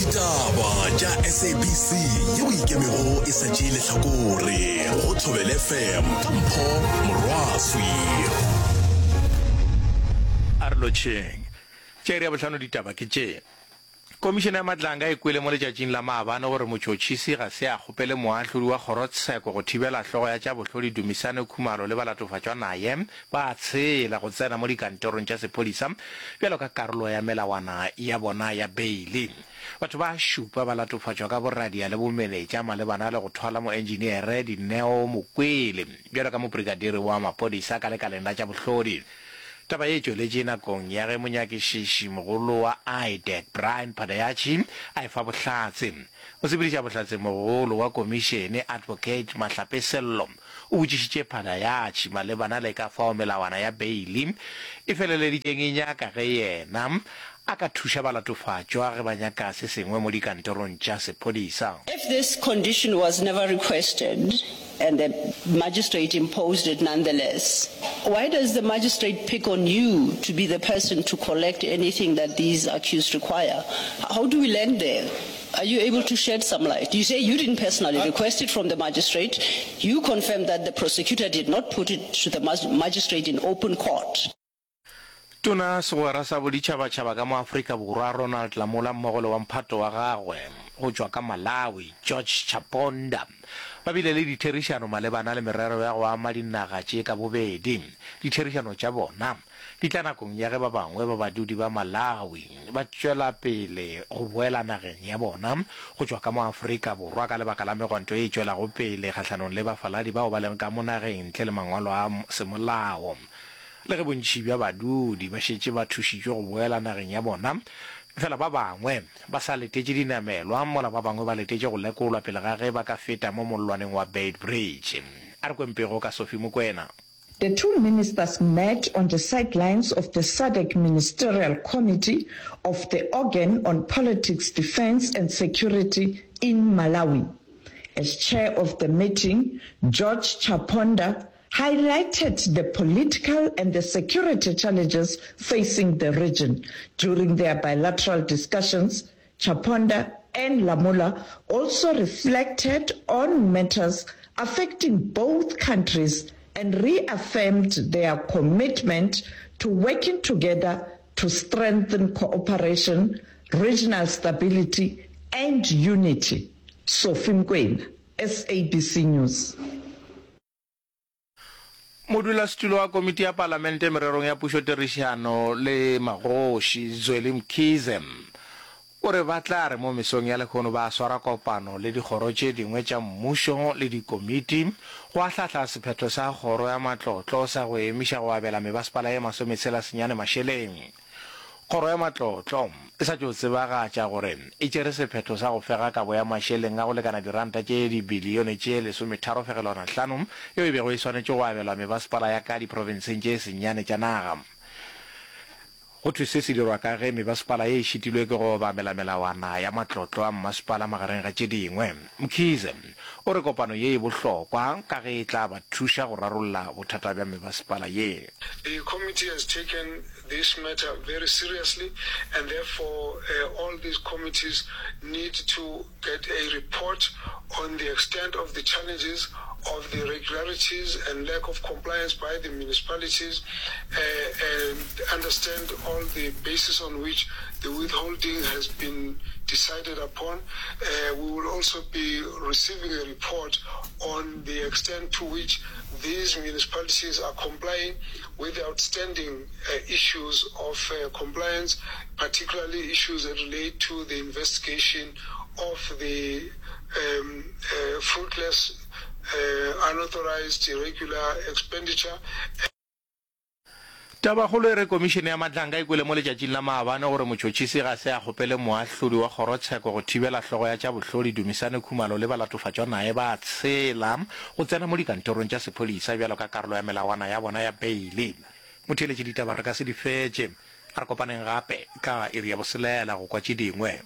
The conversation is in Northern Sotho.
Ditaba tša SABC yeo e ikemego e sa tšee lehlakore go Thobela FM ka Mpho Morwaswi. A re lotšheng. Tša iri ya bohlano ditaba ke tše. Komišene ya Matlanga e kwele mo letšatšing la maabane gore motšhotšhisi ga se a kgopele moahlodi wa kgorotsheko go thibela hlogo ya tša bohlodi Dumisane Khumalo le balatofatšwa naye ba tshela go tsena mo dikantorong tša sephodisa bjalo ka karolo ya melawana ya bona ya beili. Batho ba šupa ba latofatšwa ka boradia le bomenetša malebana le go thwala moenjiniere Dineo Mokwele bjalo ka mobrikadiri wa maphodisa ka lekaleng la tša bohlodi. Taba ye e tšweletše nakong ya ge monyakišiši mogolo wa IDAC, Brian Padayachee, a efa bohlatse. Mosepedišabohlatsemogolo wa komišene, Advocate Mahlape Sello, o botšišitše Padayachee malebana le ka fao melawana ya beili e feleleditšeng e nyaka ge yena a ka thuša balatofatšwa ge ba nyaka se sengwe mo dikantorong tša sephodisa. If this condition was never requested and the magistrate imposed it nonetheless, why does the magistrate pick on you to be the person to collect anything that these accused require? How do we land there? Are you able to shed some light? You say you didn't personally request it from the magistrate. You confirmed that the prosecutor did not put it to the magistrate in open court. Tona Segwera sa Boditšhabatšhaba ka mo Afrika Borwa Ronald Lamola mmogo le wa mphato wa gagwe go tšwa ka Malawi George Chaponda ba bile le ditherišano malebana le merero ya go ama dinaga tše ka bobedi. Ditherišano tša bona di tla nakong ya ge ba bangwe ba badudi ba Malawi ba tšwela pele go boela nageng ya bona go tšwa ka mo Afrika Borwa ka lebaka la megwanto ye e tšwelago pele kgahlanong le bafaladi bao ba lego ka mo nageng ntle le mangwalo a semolao. Le ge bontši bja badudi ba šetše ba thušitšwe go boela nageng ya bona, efela ba bangwe ba sa letetše dinamelwa mola ba bangwe ba letetše go lekolwa pele ga ge ba ka feta mo mollwaneng wa Beitbridge. A re kweng pego ka Sophie Mokoena. The two ministers met on the sidelines of the SADC Ministerial Committee of the Organ on Politics, Defence and Security in Malawi. As chair of the meeting, George Chaponda highlighted the political and the security challenges facing the region. During their bilateral discussions, Chaponda and Lamola also reflected on matters affecting both countries and reaffirmed their commitment to working together to strengthen cooperation, regional stability and unity. Sophie Mkwena, SABC News. Modulasetulo wa Komiti ya Palamente mererong ya Pušotirišano le Magoši, Zweli Mkhize, o re ba tla re mo mesong ya lehono ba swara kopano le dikgoro tše dingwe tša mmušo le dikomiti go ahlahla sephetho sa Kgoro ya Matlotlo sa go emiša go abela mebasepala ye masometshela senyane mašeleng. Kgoro ya Matlotlo e sa tšo tsebagatša gore e tšere sephetho sa go fega kabo ya mašeleng a go lekana diranta tše dibilione tše lesometharo-fegelwana hlano yeo e bego e swanetše go abelwa mebasepala ya ka diprofenseng tše senyane tša naga. Go thwe se se dirwa ka ge mebasepala ye e šitilwe ke go obamela melawana ya matlotlo a mmasepala magareng ga tše dingwe. Mkhize o re kopano ye e bohlokwa ka ge e tla ba thuša go rarolla bothata bja mebasepala ye. The committee has taken this matter very seriously and therefore all these committees need to get a report on the extent of the challenges of the irregularities and lack of compliance by the municipalities and understand all the basis on which the withholding has been decided upon. We will also be receiving a report on the extent to which these municipalities are complying with the outstanding issues of compliance, particularly issues that relate to the investigation of the fruitless, unauthorized, irregular expenditure. Tabakgolo e re Komišene ya Matlanga e kwele mo letšatšing la maabane gore motšhotšhisi ga se a kgopele moahlodi wa kgorotsheko go thibela hlogo ya tša bohlodi Dumisane Khumalo le balatofatšwa naye ba tshela go tsena mo dikantorong tša sephodisa bjalo ka karolo ya melawana ya bona ya beili. Motheeletši ditaba re ka se di fetše. A re kopaneng gape ka iri ya boselela go kwa tše dingwe.